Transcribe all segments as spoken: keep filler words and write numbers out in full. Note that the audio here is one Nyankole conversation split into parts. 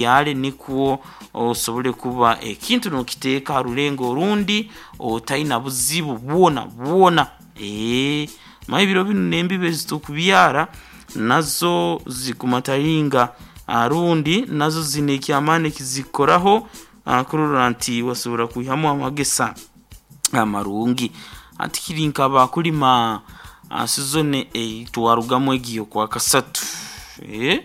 Obyare nikwo osobole kuba ekintu nokiteeka ha rulengo orundi otaina buzibu bwona bwona. Eeh manya ebiro binu n'embibo ezitukubyara nazo zikumataringa rundi nazo ziine ekyamaani ekizikukoraho kurora nti wasobora kwihamu amagesa amarungi. Hati kiri nka abakulima sizoni ei twarugamu egi ey'okwakasatu, eeh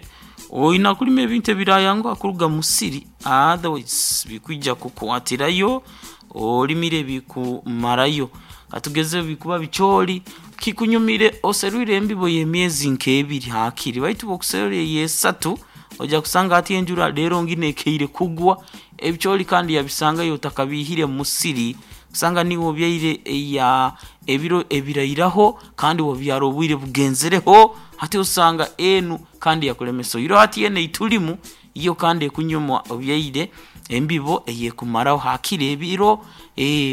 oina kulima ebintu ebirayanguha kuruga mu musiri otherwise bikwija kukwatirayo olimire bikumarayo. Katugeze bikuba bicoori, kikunyumire oserwire embibo y'emyezi nk'ebiri haakiri baitu obu okuserra ey'esatu oija kusanga hati enjura leero nginu ekeire kugwa, ebicoori kandi yabisangayo otakabiihire mu musiri, osanga niiwe obyaire eya ebiro ebirairaho kandi wabyara obwire bugenzereho, hati osanga enu kandi yakulemesa. Oihireho hati enu eitulimu yo kandi ekunyuma obyaire embibo eyeekumaraho haakiri ebiro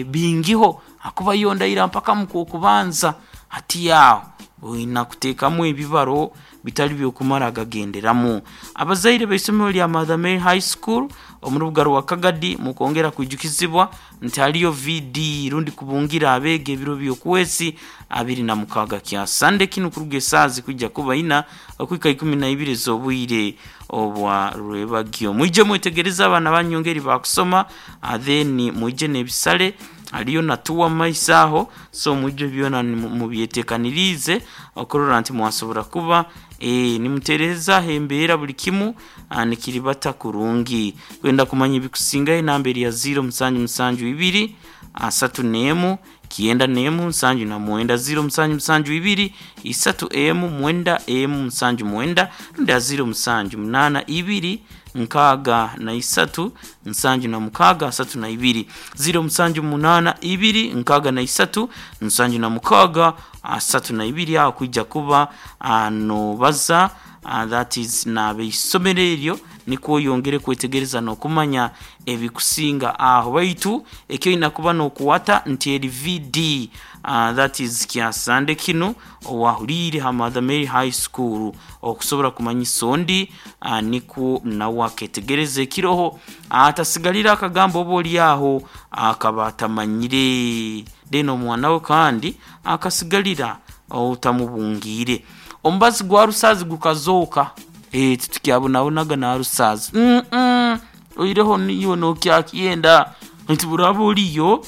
bingiho ahakuba yo ndaira mpaka mu Kwokubanza. Hati aho oina kuteekamu ebibaro bitari by'okumara gagenderamu. Abazaire b'eisomero lya Mother Mary High School omu rubuga rwa Kagadi mukwongera kwijukizibwa nti haliyo V D rundi kubungira abeegi ebiro by'okwezi abiri na mukaaga kya Sande kinu kuruga esaaha zikwija kuba ina okuhika ikumi na ibiri ez'obwire obwa rwebagyo. Mwije mwetegereze abaana banyu engeri bakusoma, then mwije n'ebisale, haliyo na tour mumaiso aho, so mwije byona mubyetekaniriize okurora nti mwasobora kuba nimuteerezaaho embeera buli kimu nikiribata kurungi. Kwenda kumanya ebikusingayo enamba eri ya ziro musanju musanju ibiri asatu n'emu kyenda n'emu nsanju na mwenda, ziro musanju musanju ibiri isatu emu mwenda emu nsanju mwenda, rundi ha ziro musanju munaana ibiri nkaaga na isatu nsanju na mukaaga asatu na ibiri, ziro musanju munaana ibiri nkaaga na isatu nsanju na mukaaga asatu na ibiri. Aho kwija kuba noobaza, that is n'abeisomero eryo nikwo oyongere kwetegereza n'okumanya ebikusinga aho. Baitu eki oina kuba nookwata nti eri V D, that is kya Sande kinu owahuliire ha Mother Mary High School okusobora kumanyisa ondi nikwo nawe aketegereza ekiroho atasigalira akagamba oba ori aho akaba atamanyire then omwana we kandi akasigalira otamubungiire. Omubazi gwa rusaazi gukazooka, eeh titukyabonabonaga na rusaazi, uuh oihireho niiwe nookyakyenda nti buraaba oriyo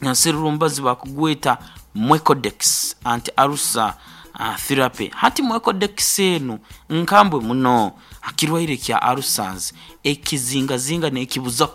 naserura omubazi bakugweta Mwecodex anti-ulcer therapy. Hati Mwecodex enu nkambwe muno ha kirwaire kya ulcers, ekizingazinga n'ekibuzaho.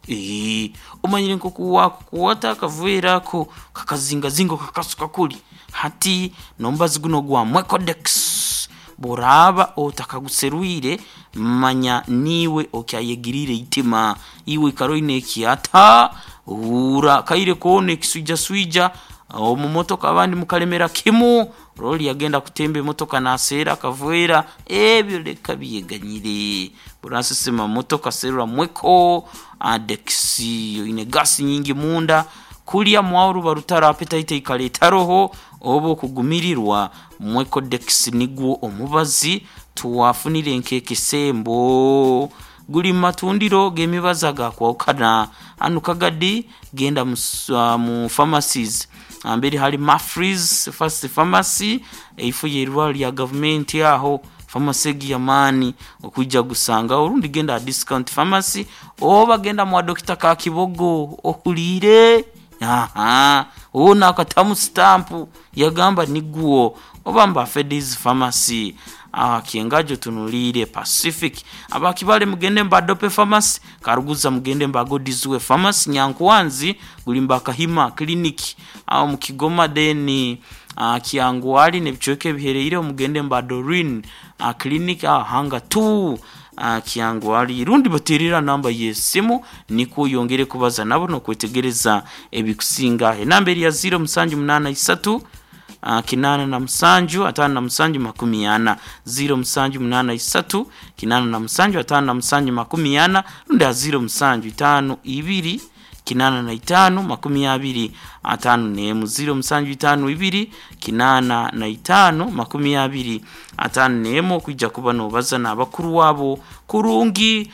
Eeh omanyire nk'oku wakukwata akaveera ako kakazingazinga okakasuka kuri, hati n'omubazi gunu ogwa Mwecodex bw'oraaba otakaguserwire manya niiwe okyayegiriire eitima, iwe ikara oine ekyata, huura akaire koona ekiswijaswija omu motoka abandi mukalemera kimu, ori yagenda kutemba emotoka naaseera akaveera, ebyo leka byeganyire. Bw'orasesema mu motoka serra Mwecodex, oine gaasi nyingi munda, kulya mwaho ruba rutaro appetite eikara etaroho oba okugumirirwa, Mwecodex nigwo omubazi twafunire nk'ekisembo. Guli mu matundiro g'emibazi agakwahukana. Hanu Kagadi genda mu, mu pharmacies amberi hari Mafrees First Pharmacy eifo y'eirwaro lya gavumenti aho pharmacy egi y'amaani okwija gusangagho, orundi genda aha Discount Pharmacy oba genda mwa Dokita Kakibogo ohuliire ahaa hoona akatamu sitampu yagamba nigwo, oba mba Fedis Pharmacy aha Kyengajo otunuliire Pacific. Aba Kibale mugende mba Dope Pharmacy, Karuguza mugende mba God's Way Pharmacy, Nyankwanzi guli mba Kahima Clinic aho mu Kigoma, then Kyangwali n'ebicweka ebihereireho mugende mba Doreen Clinic aho Hanga two Kyangwali. Rundi bateerere aha namba y'esimu nikwo oyongere kubaza nabo n'okwetegereza ebikusinga. Enamba eri ya ziro musanju munaana isatu kinaana na musanju ataano na musanju makumi ana, ziro musanju munaana isatu kinaana na musanju ataano na musanju makumi ana, rundi aha ziro musanju itaano ibiri kinaana na itaano makumi abiri ataano n'emu, ziro musanju itaano ibiri kinaana na itaano makumi abiri ataano n'emu, okwija kuba nobaza n'abakuru wabo kurungi.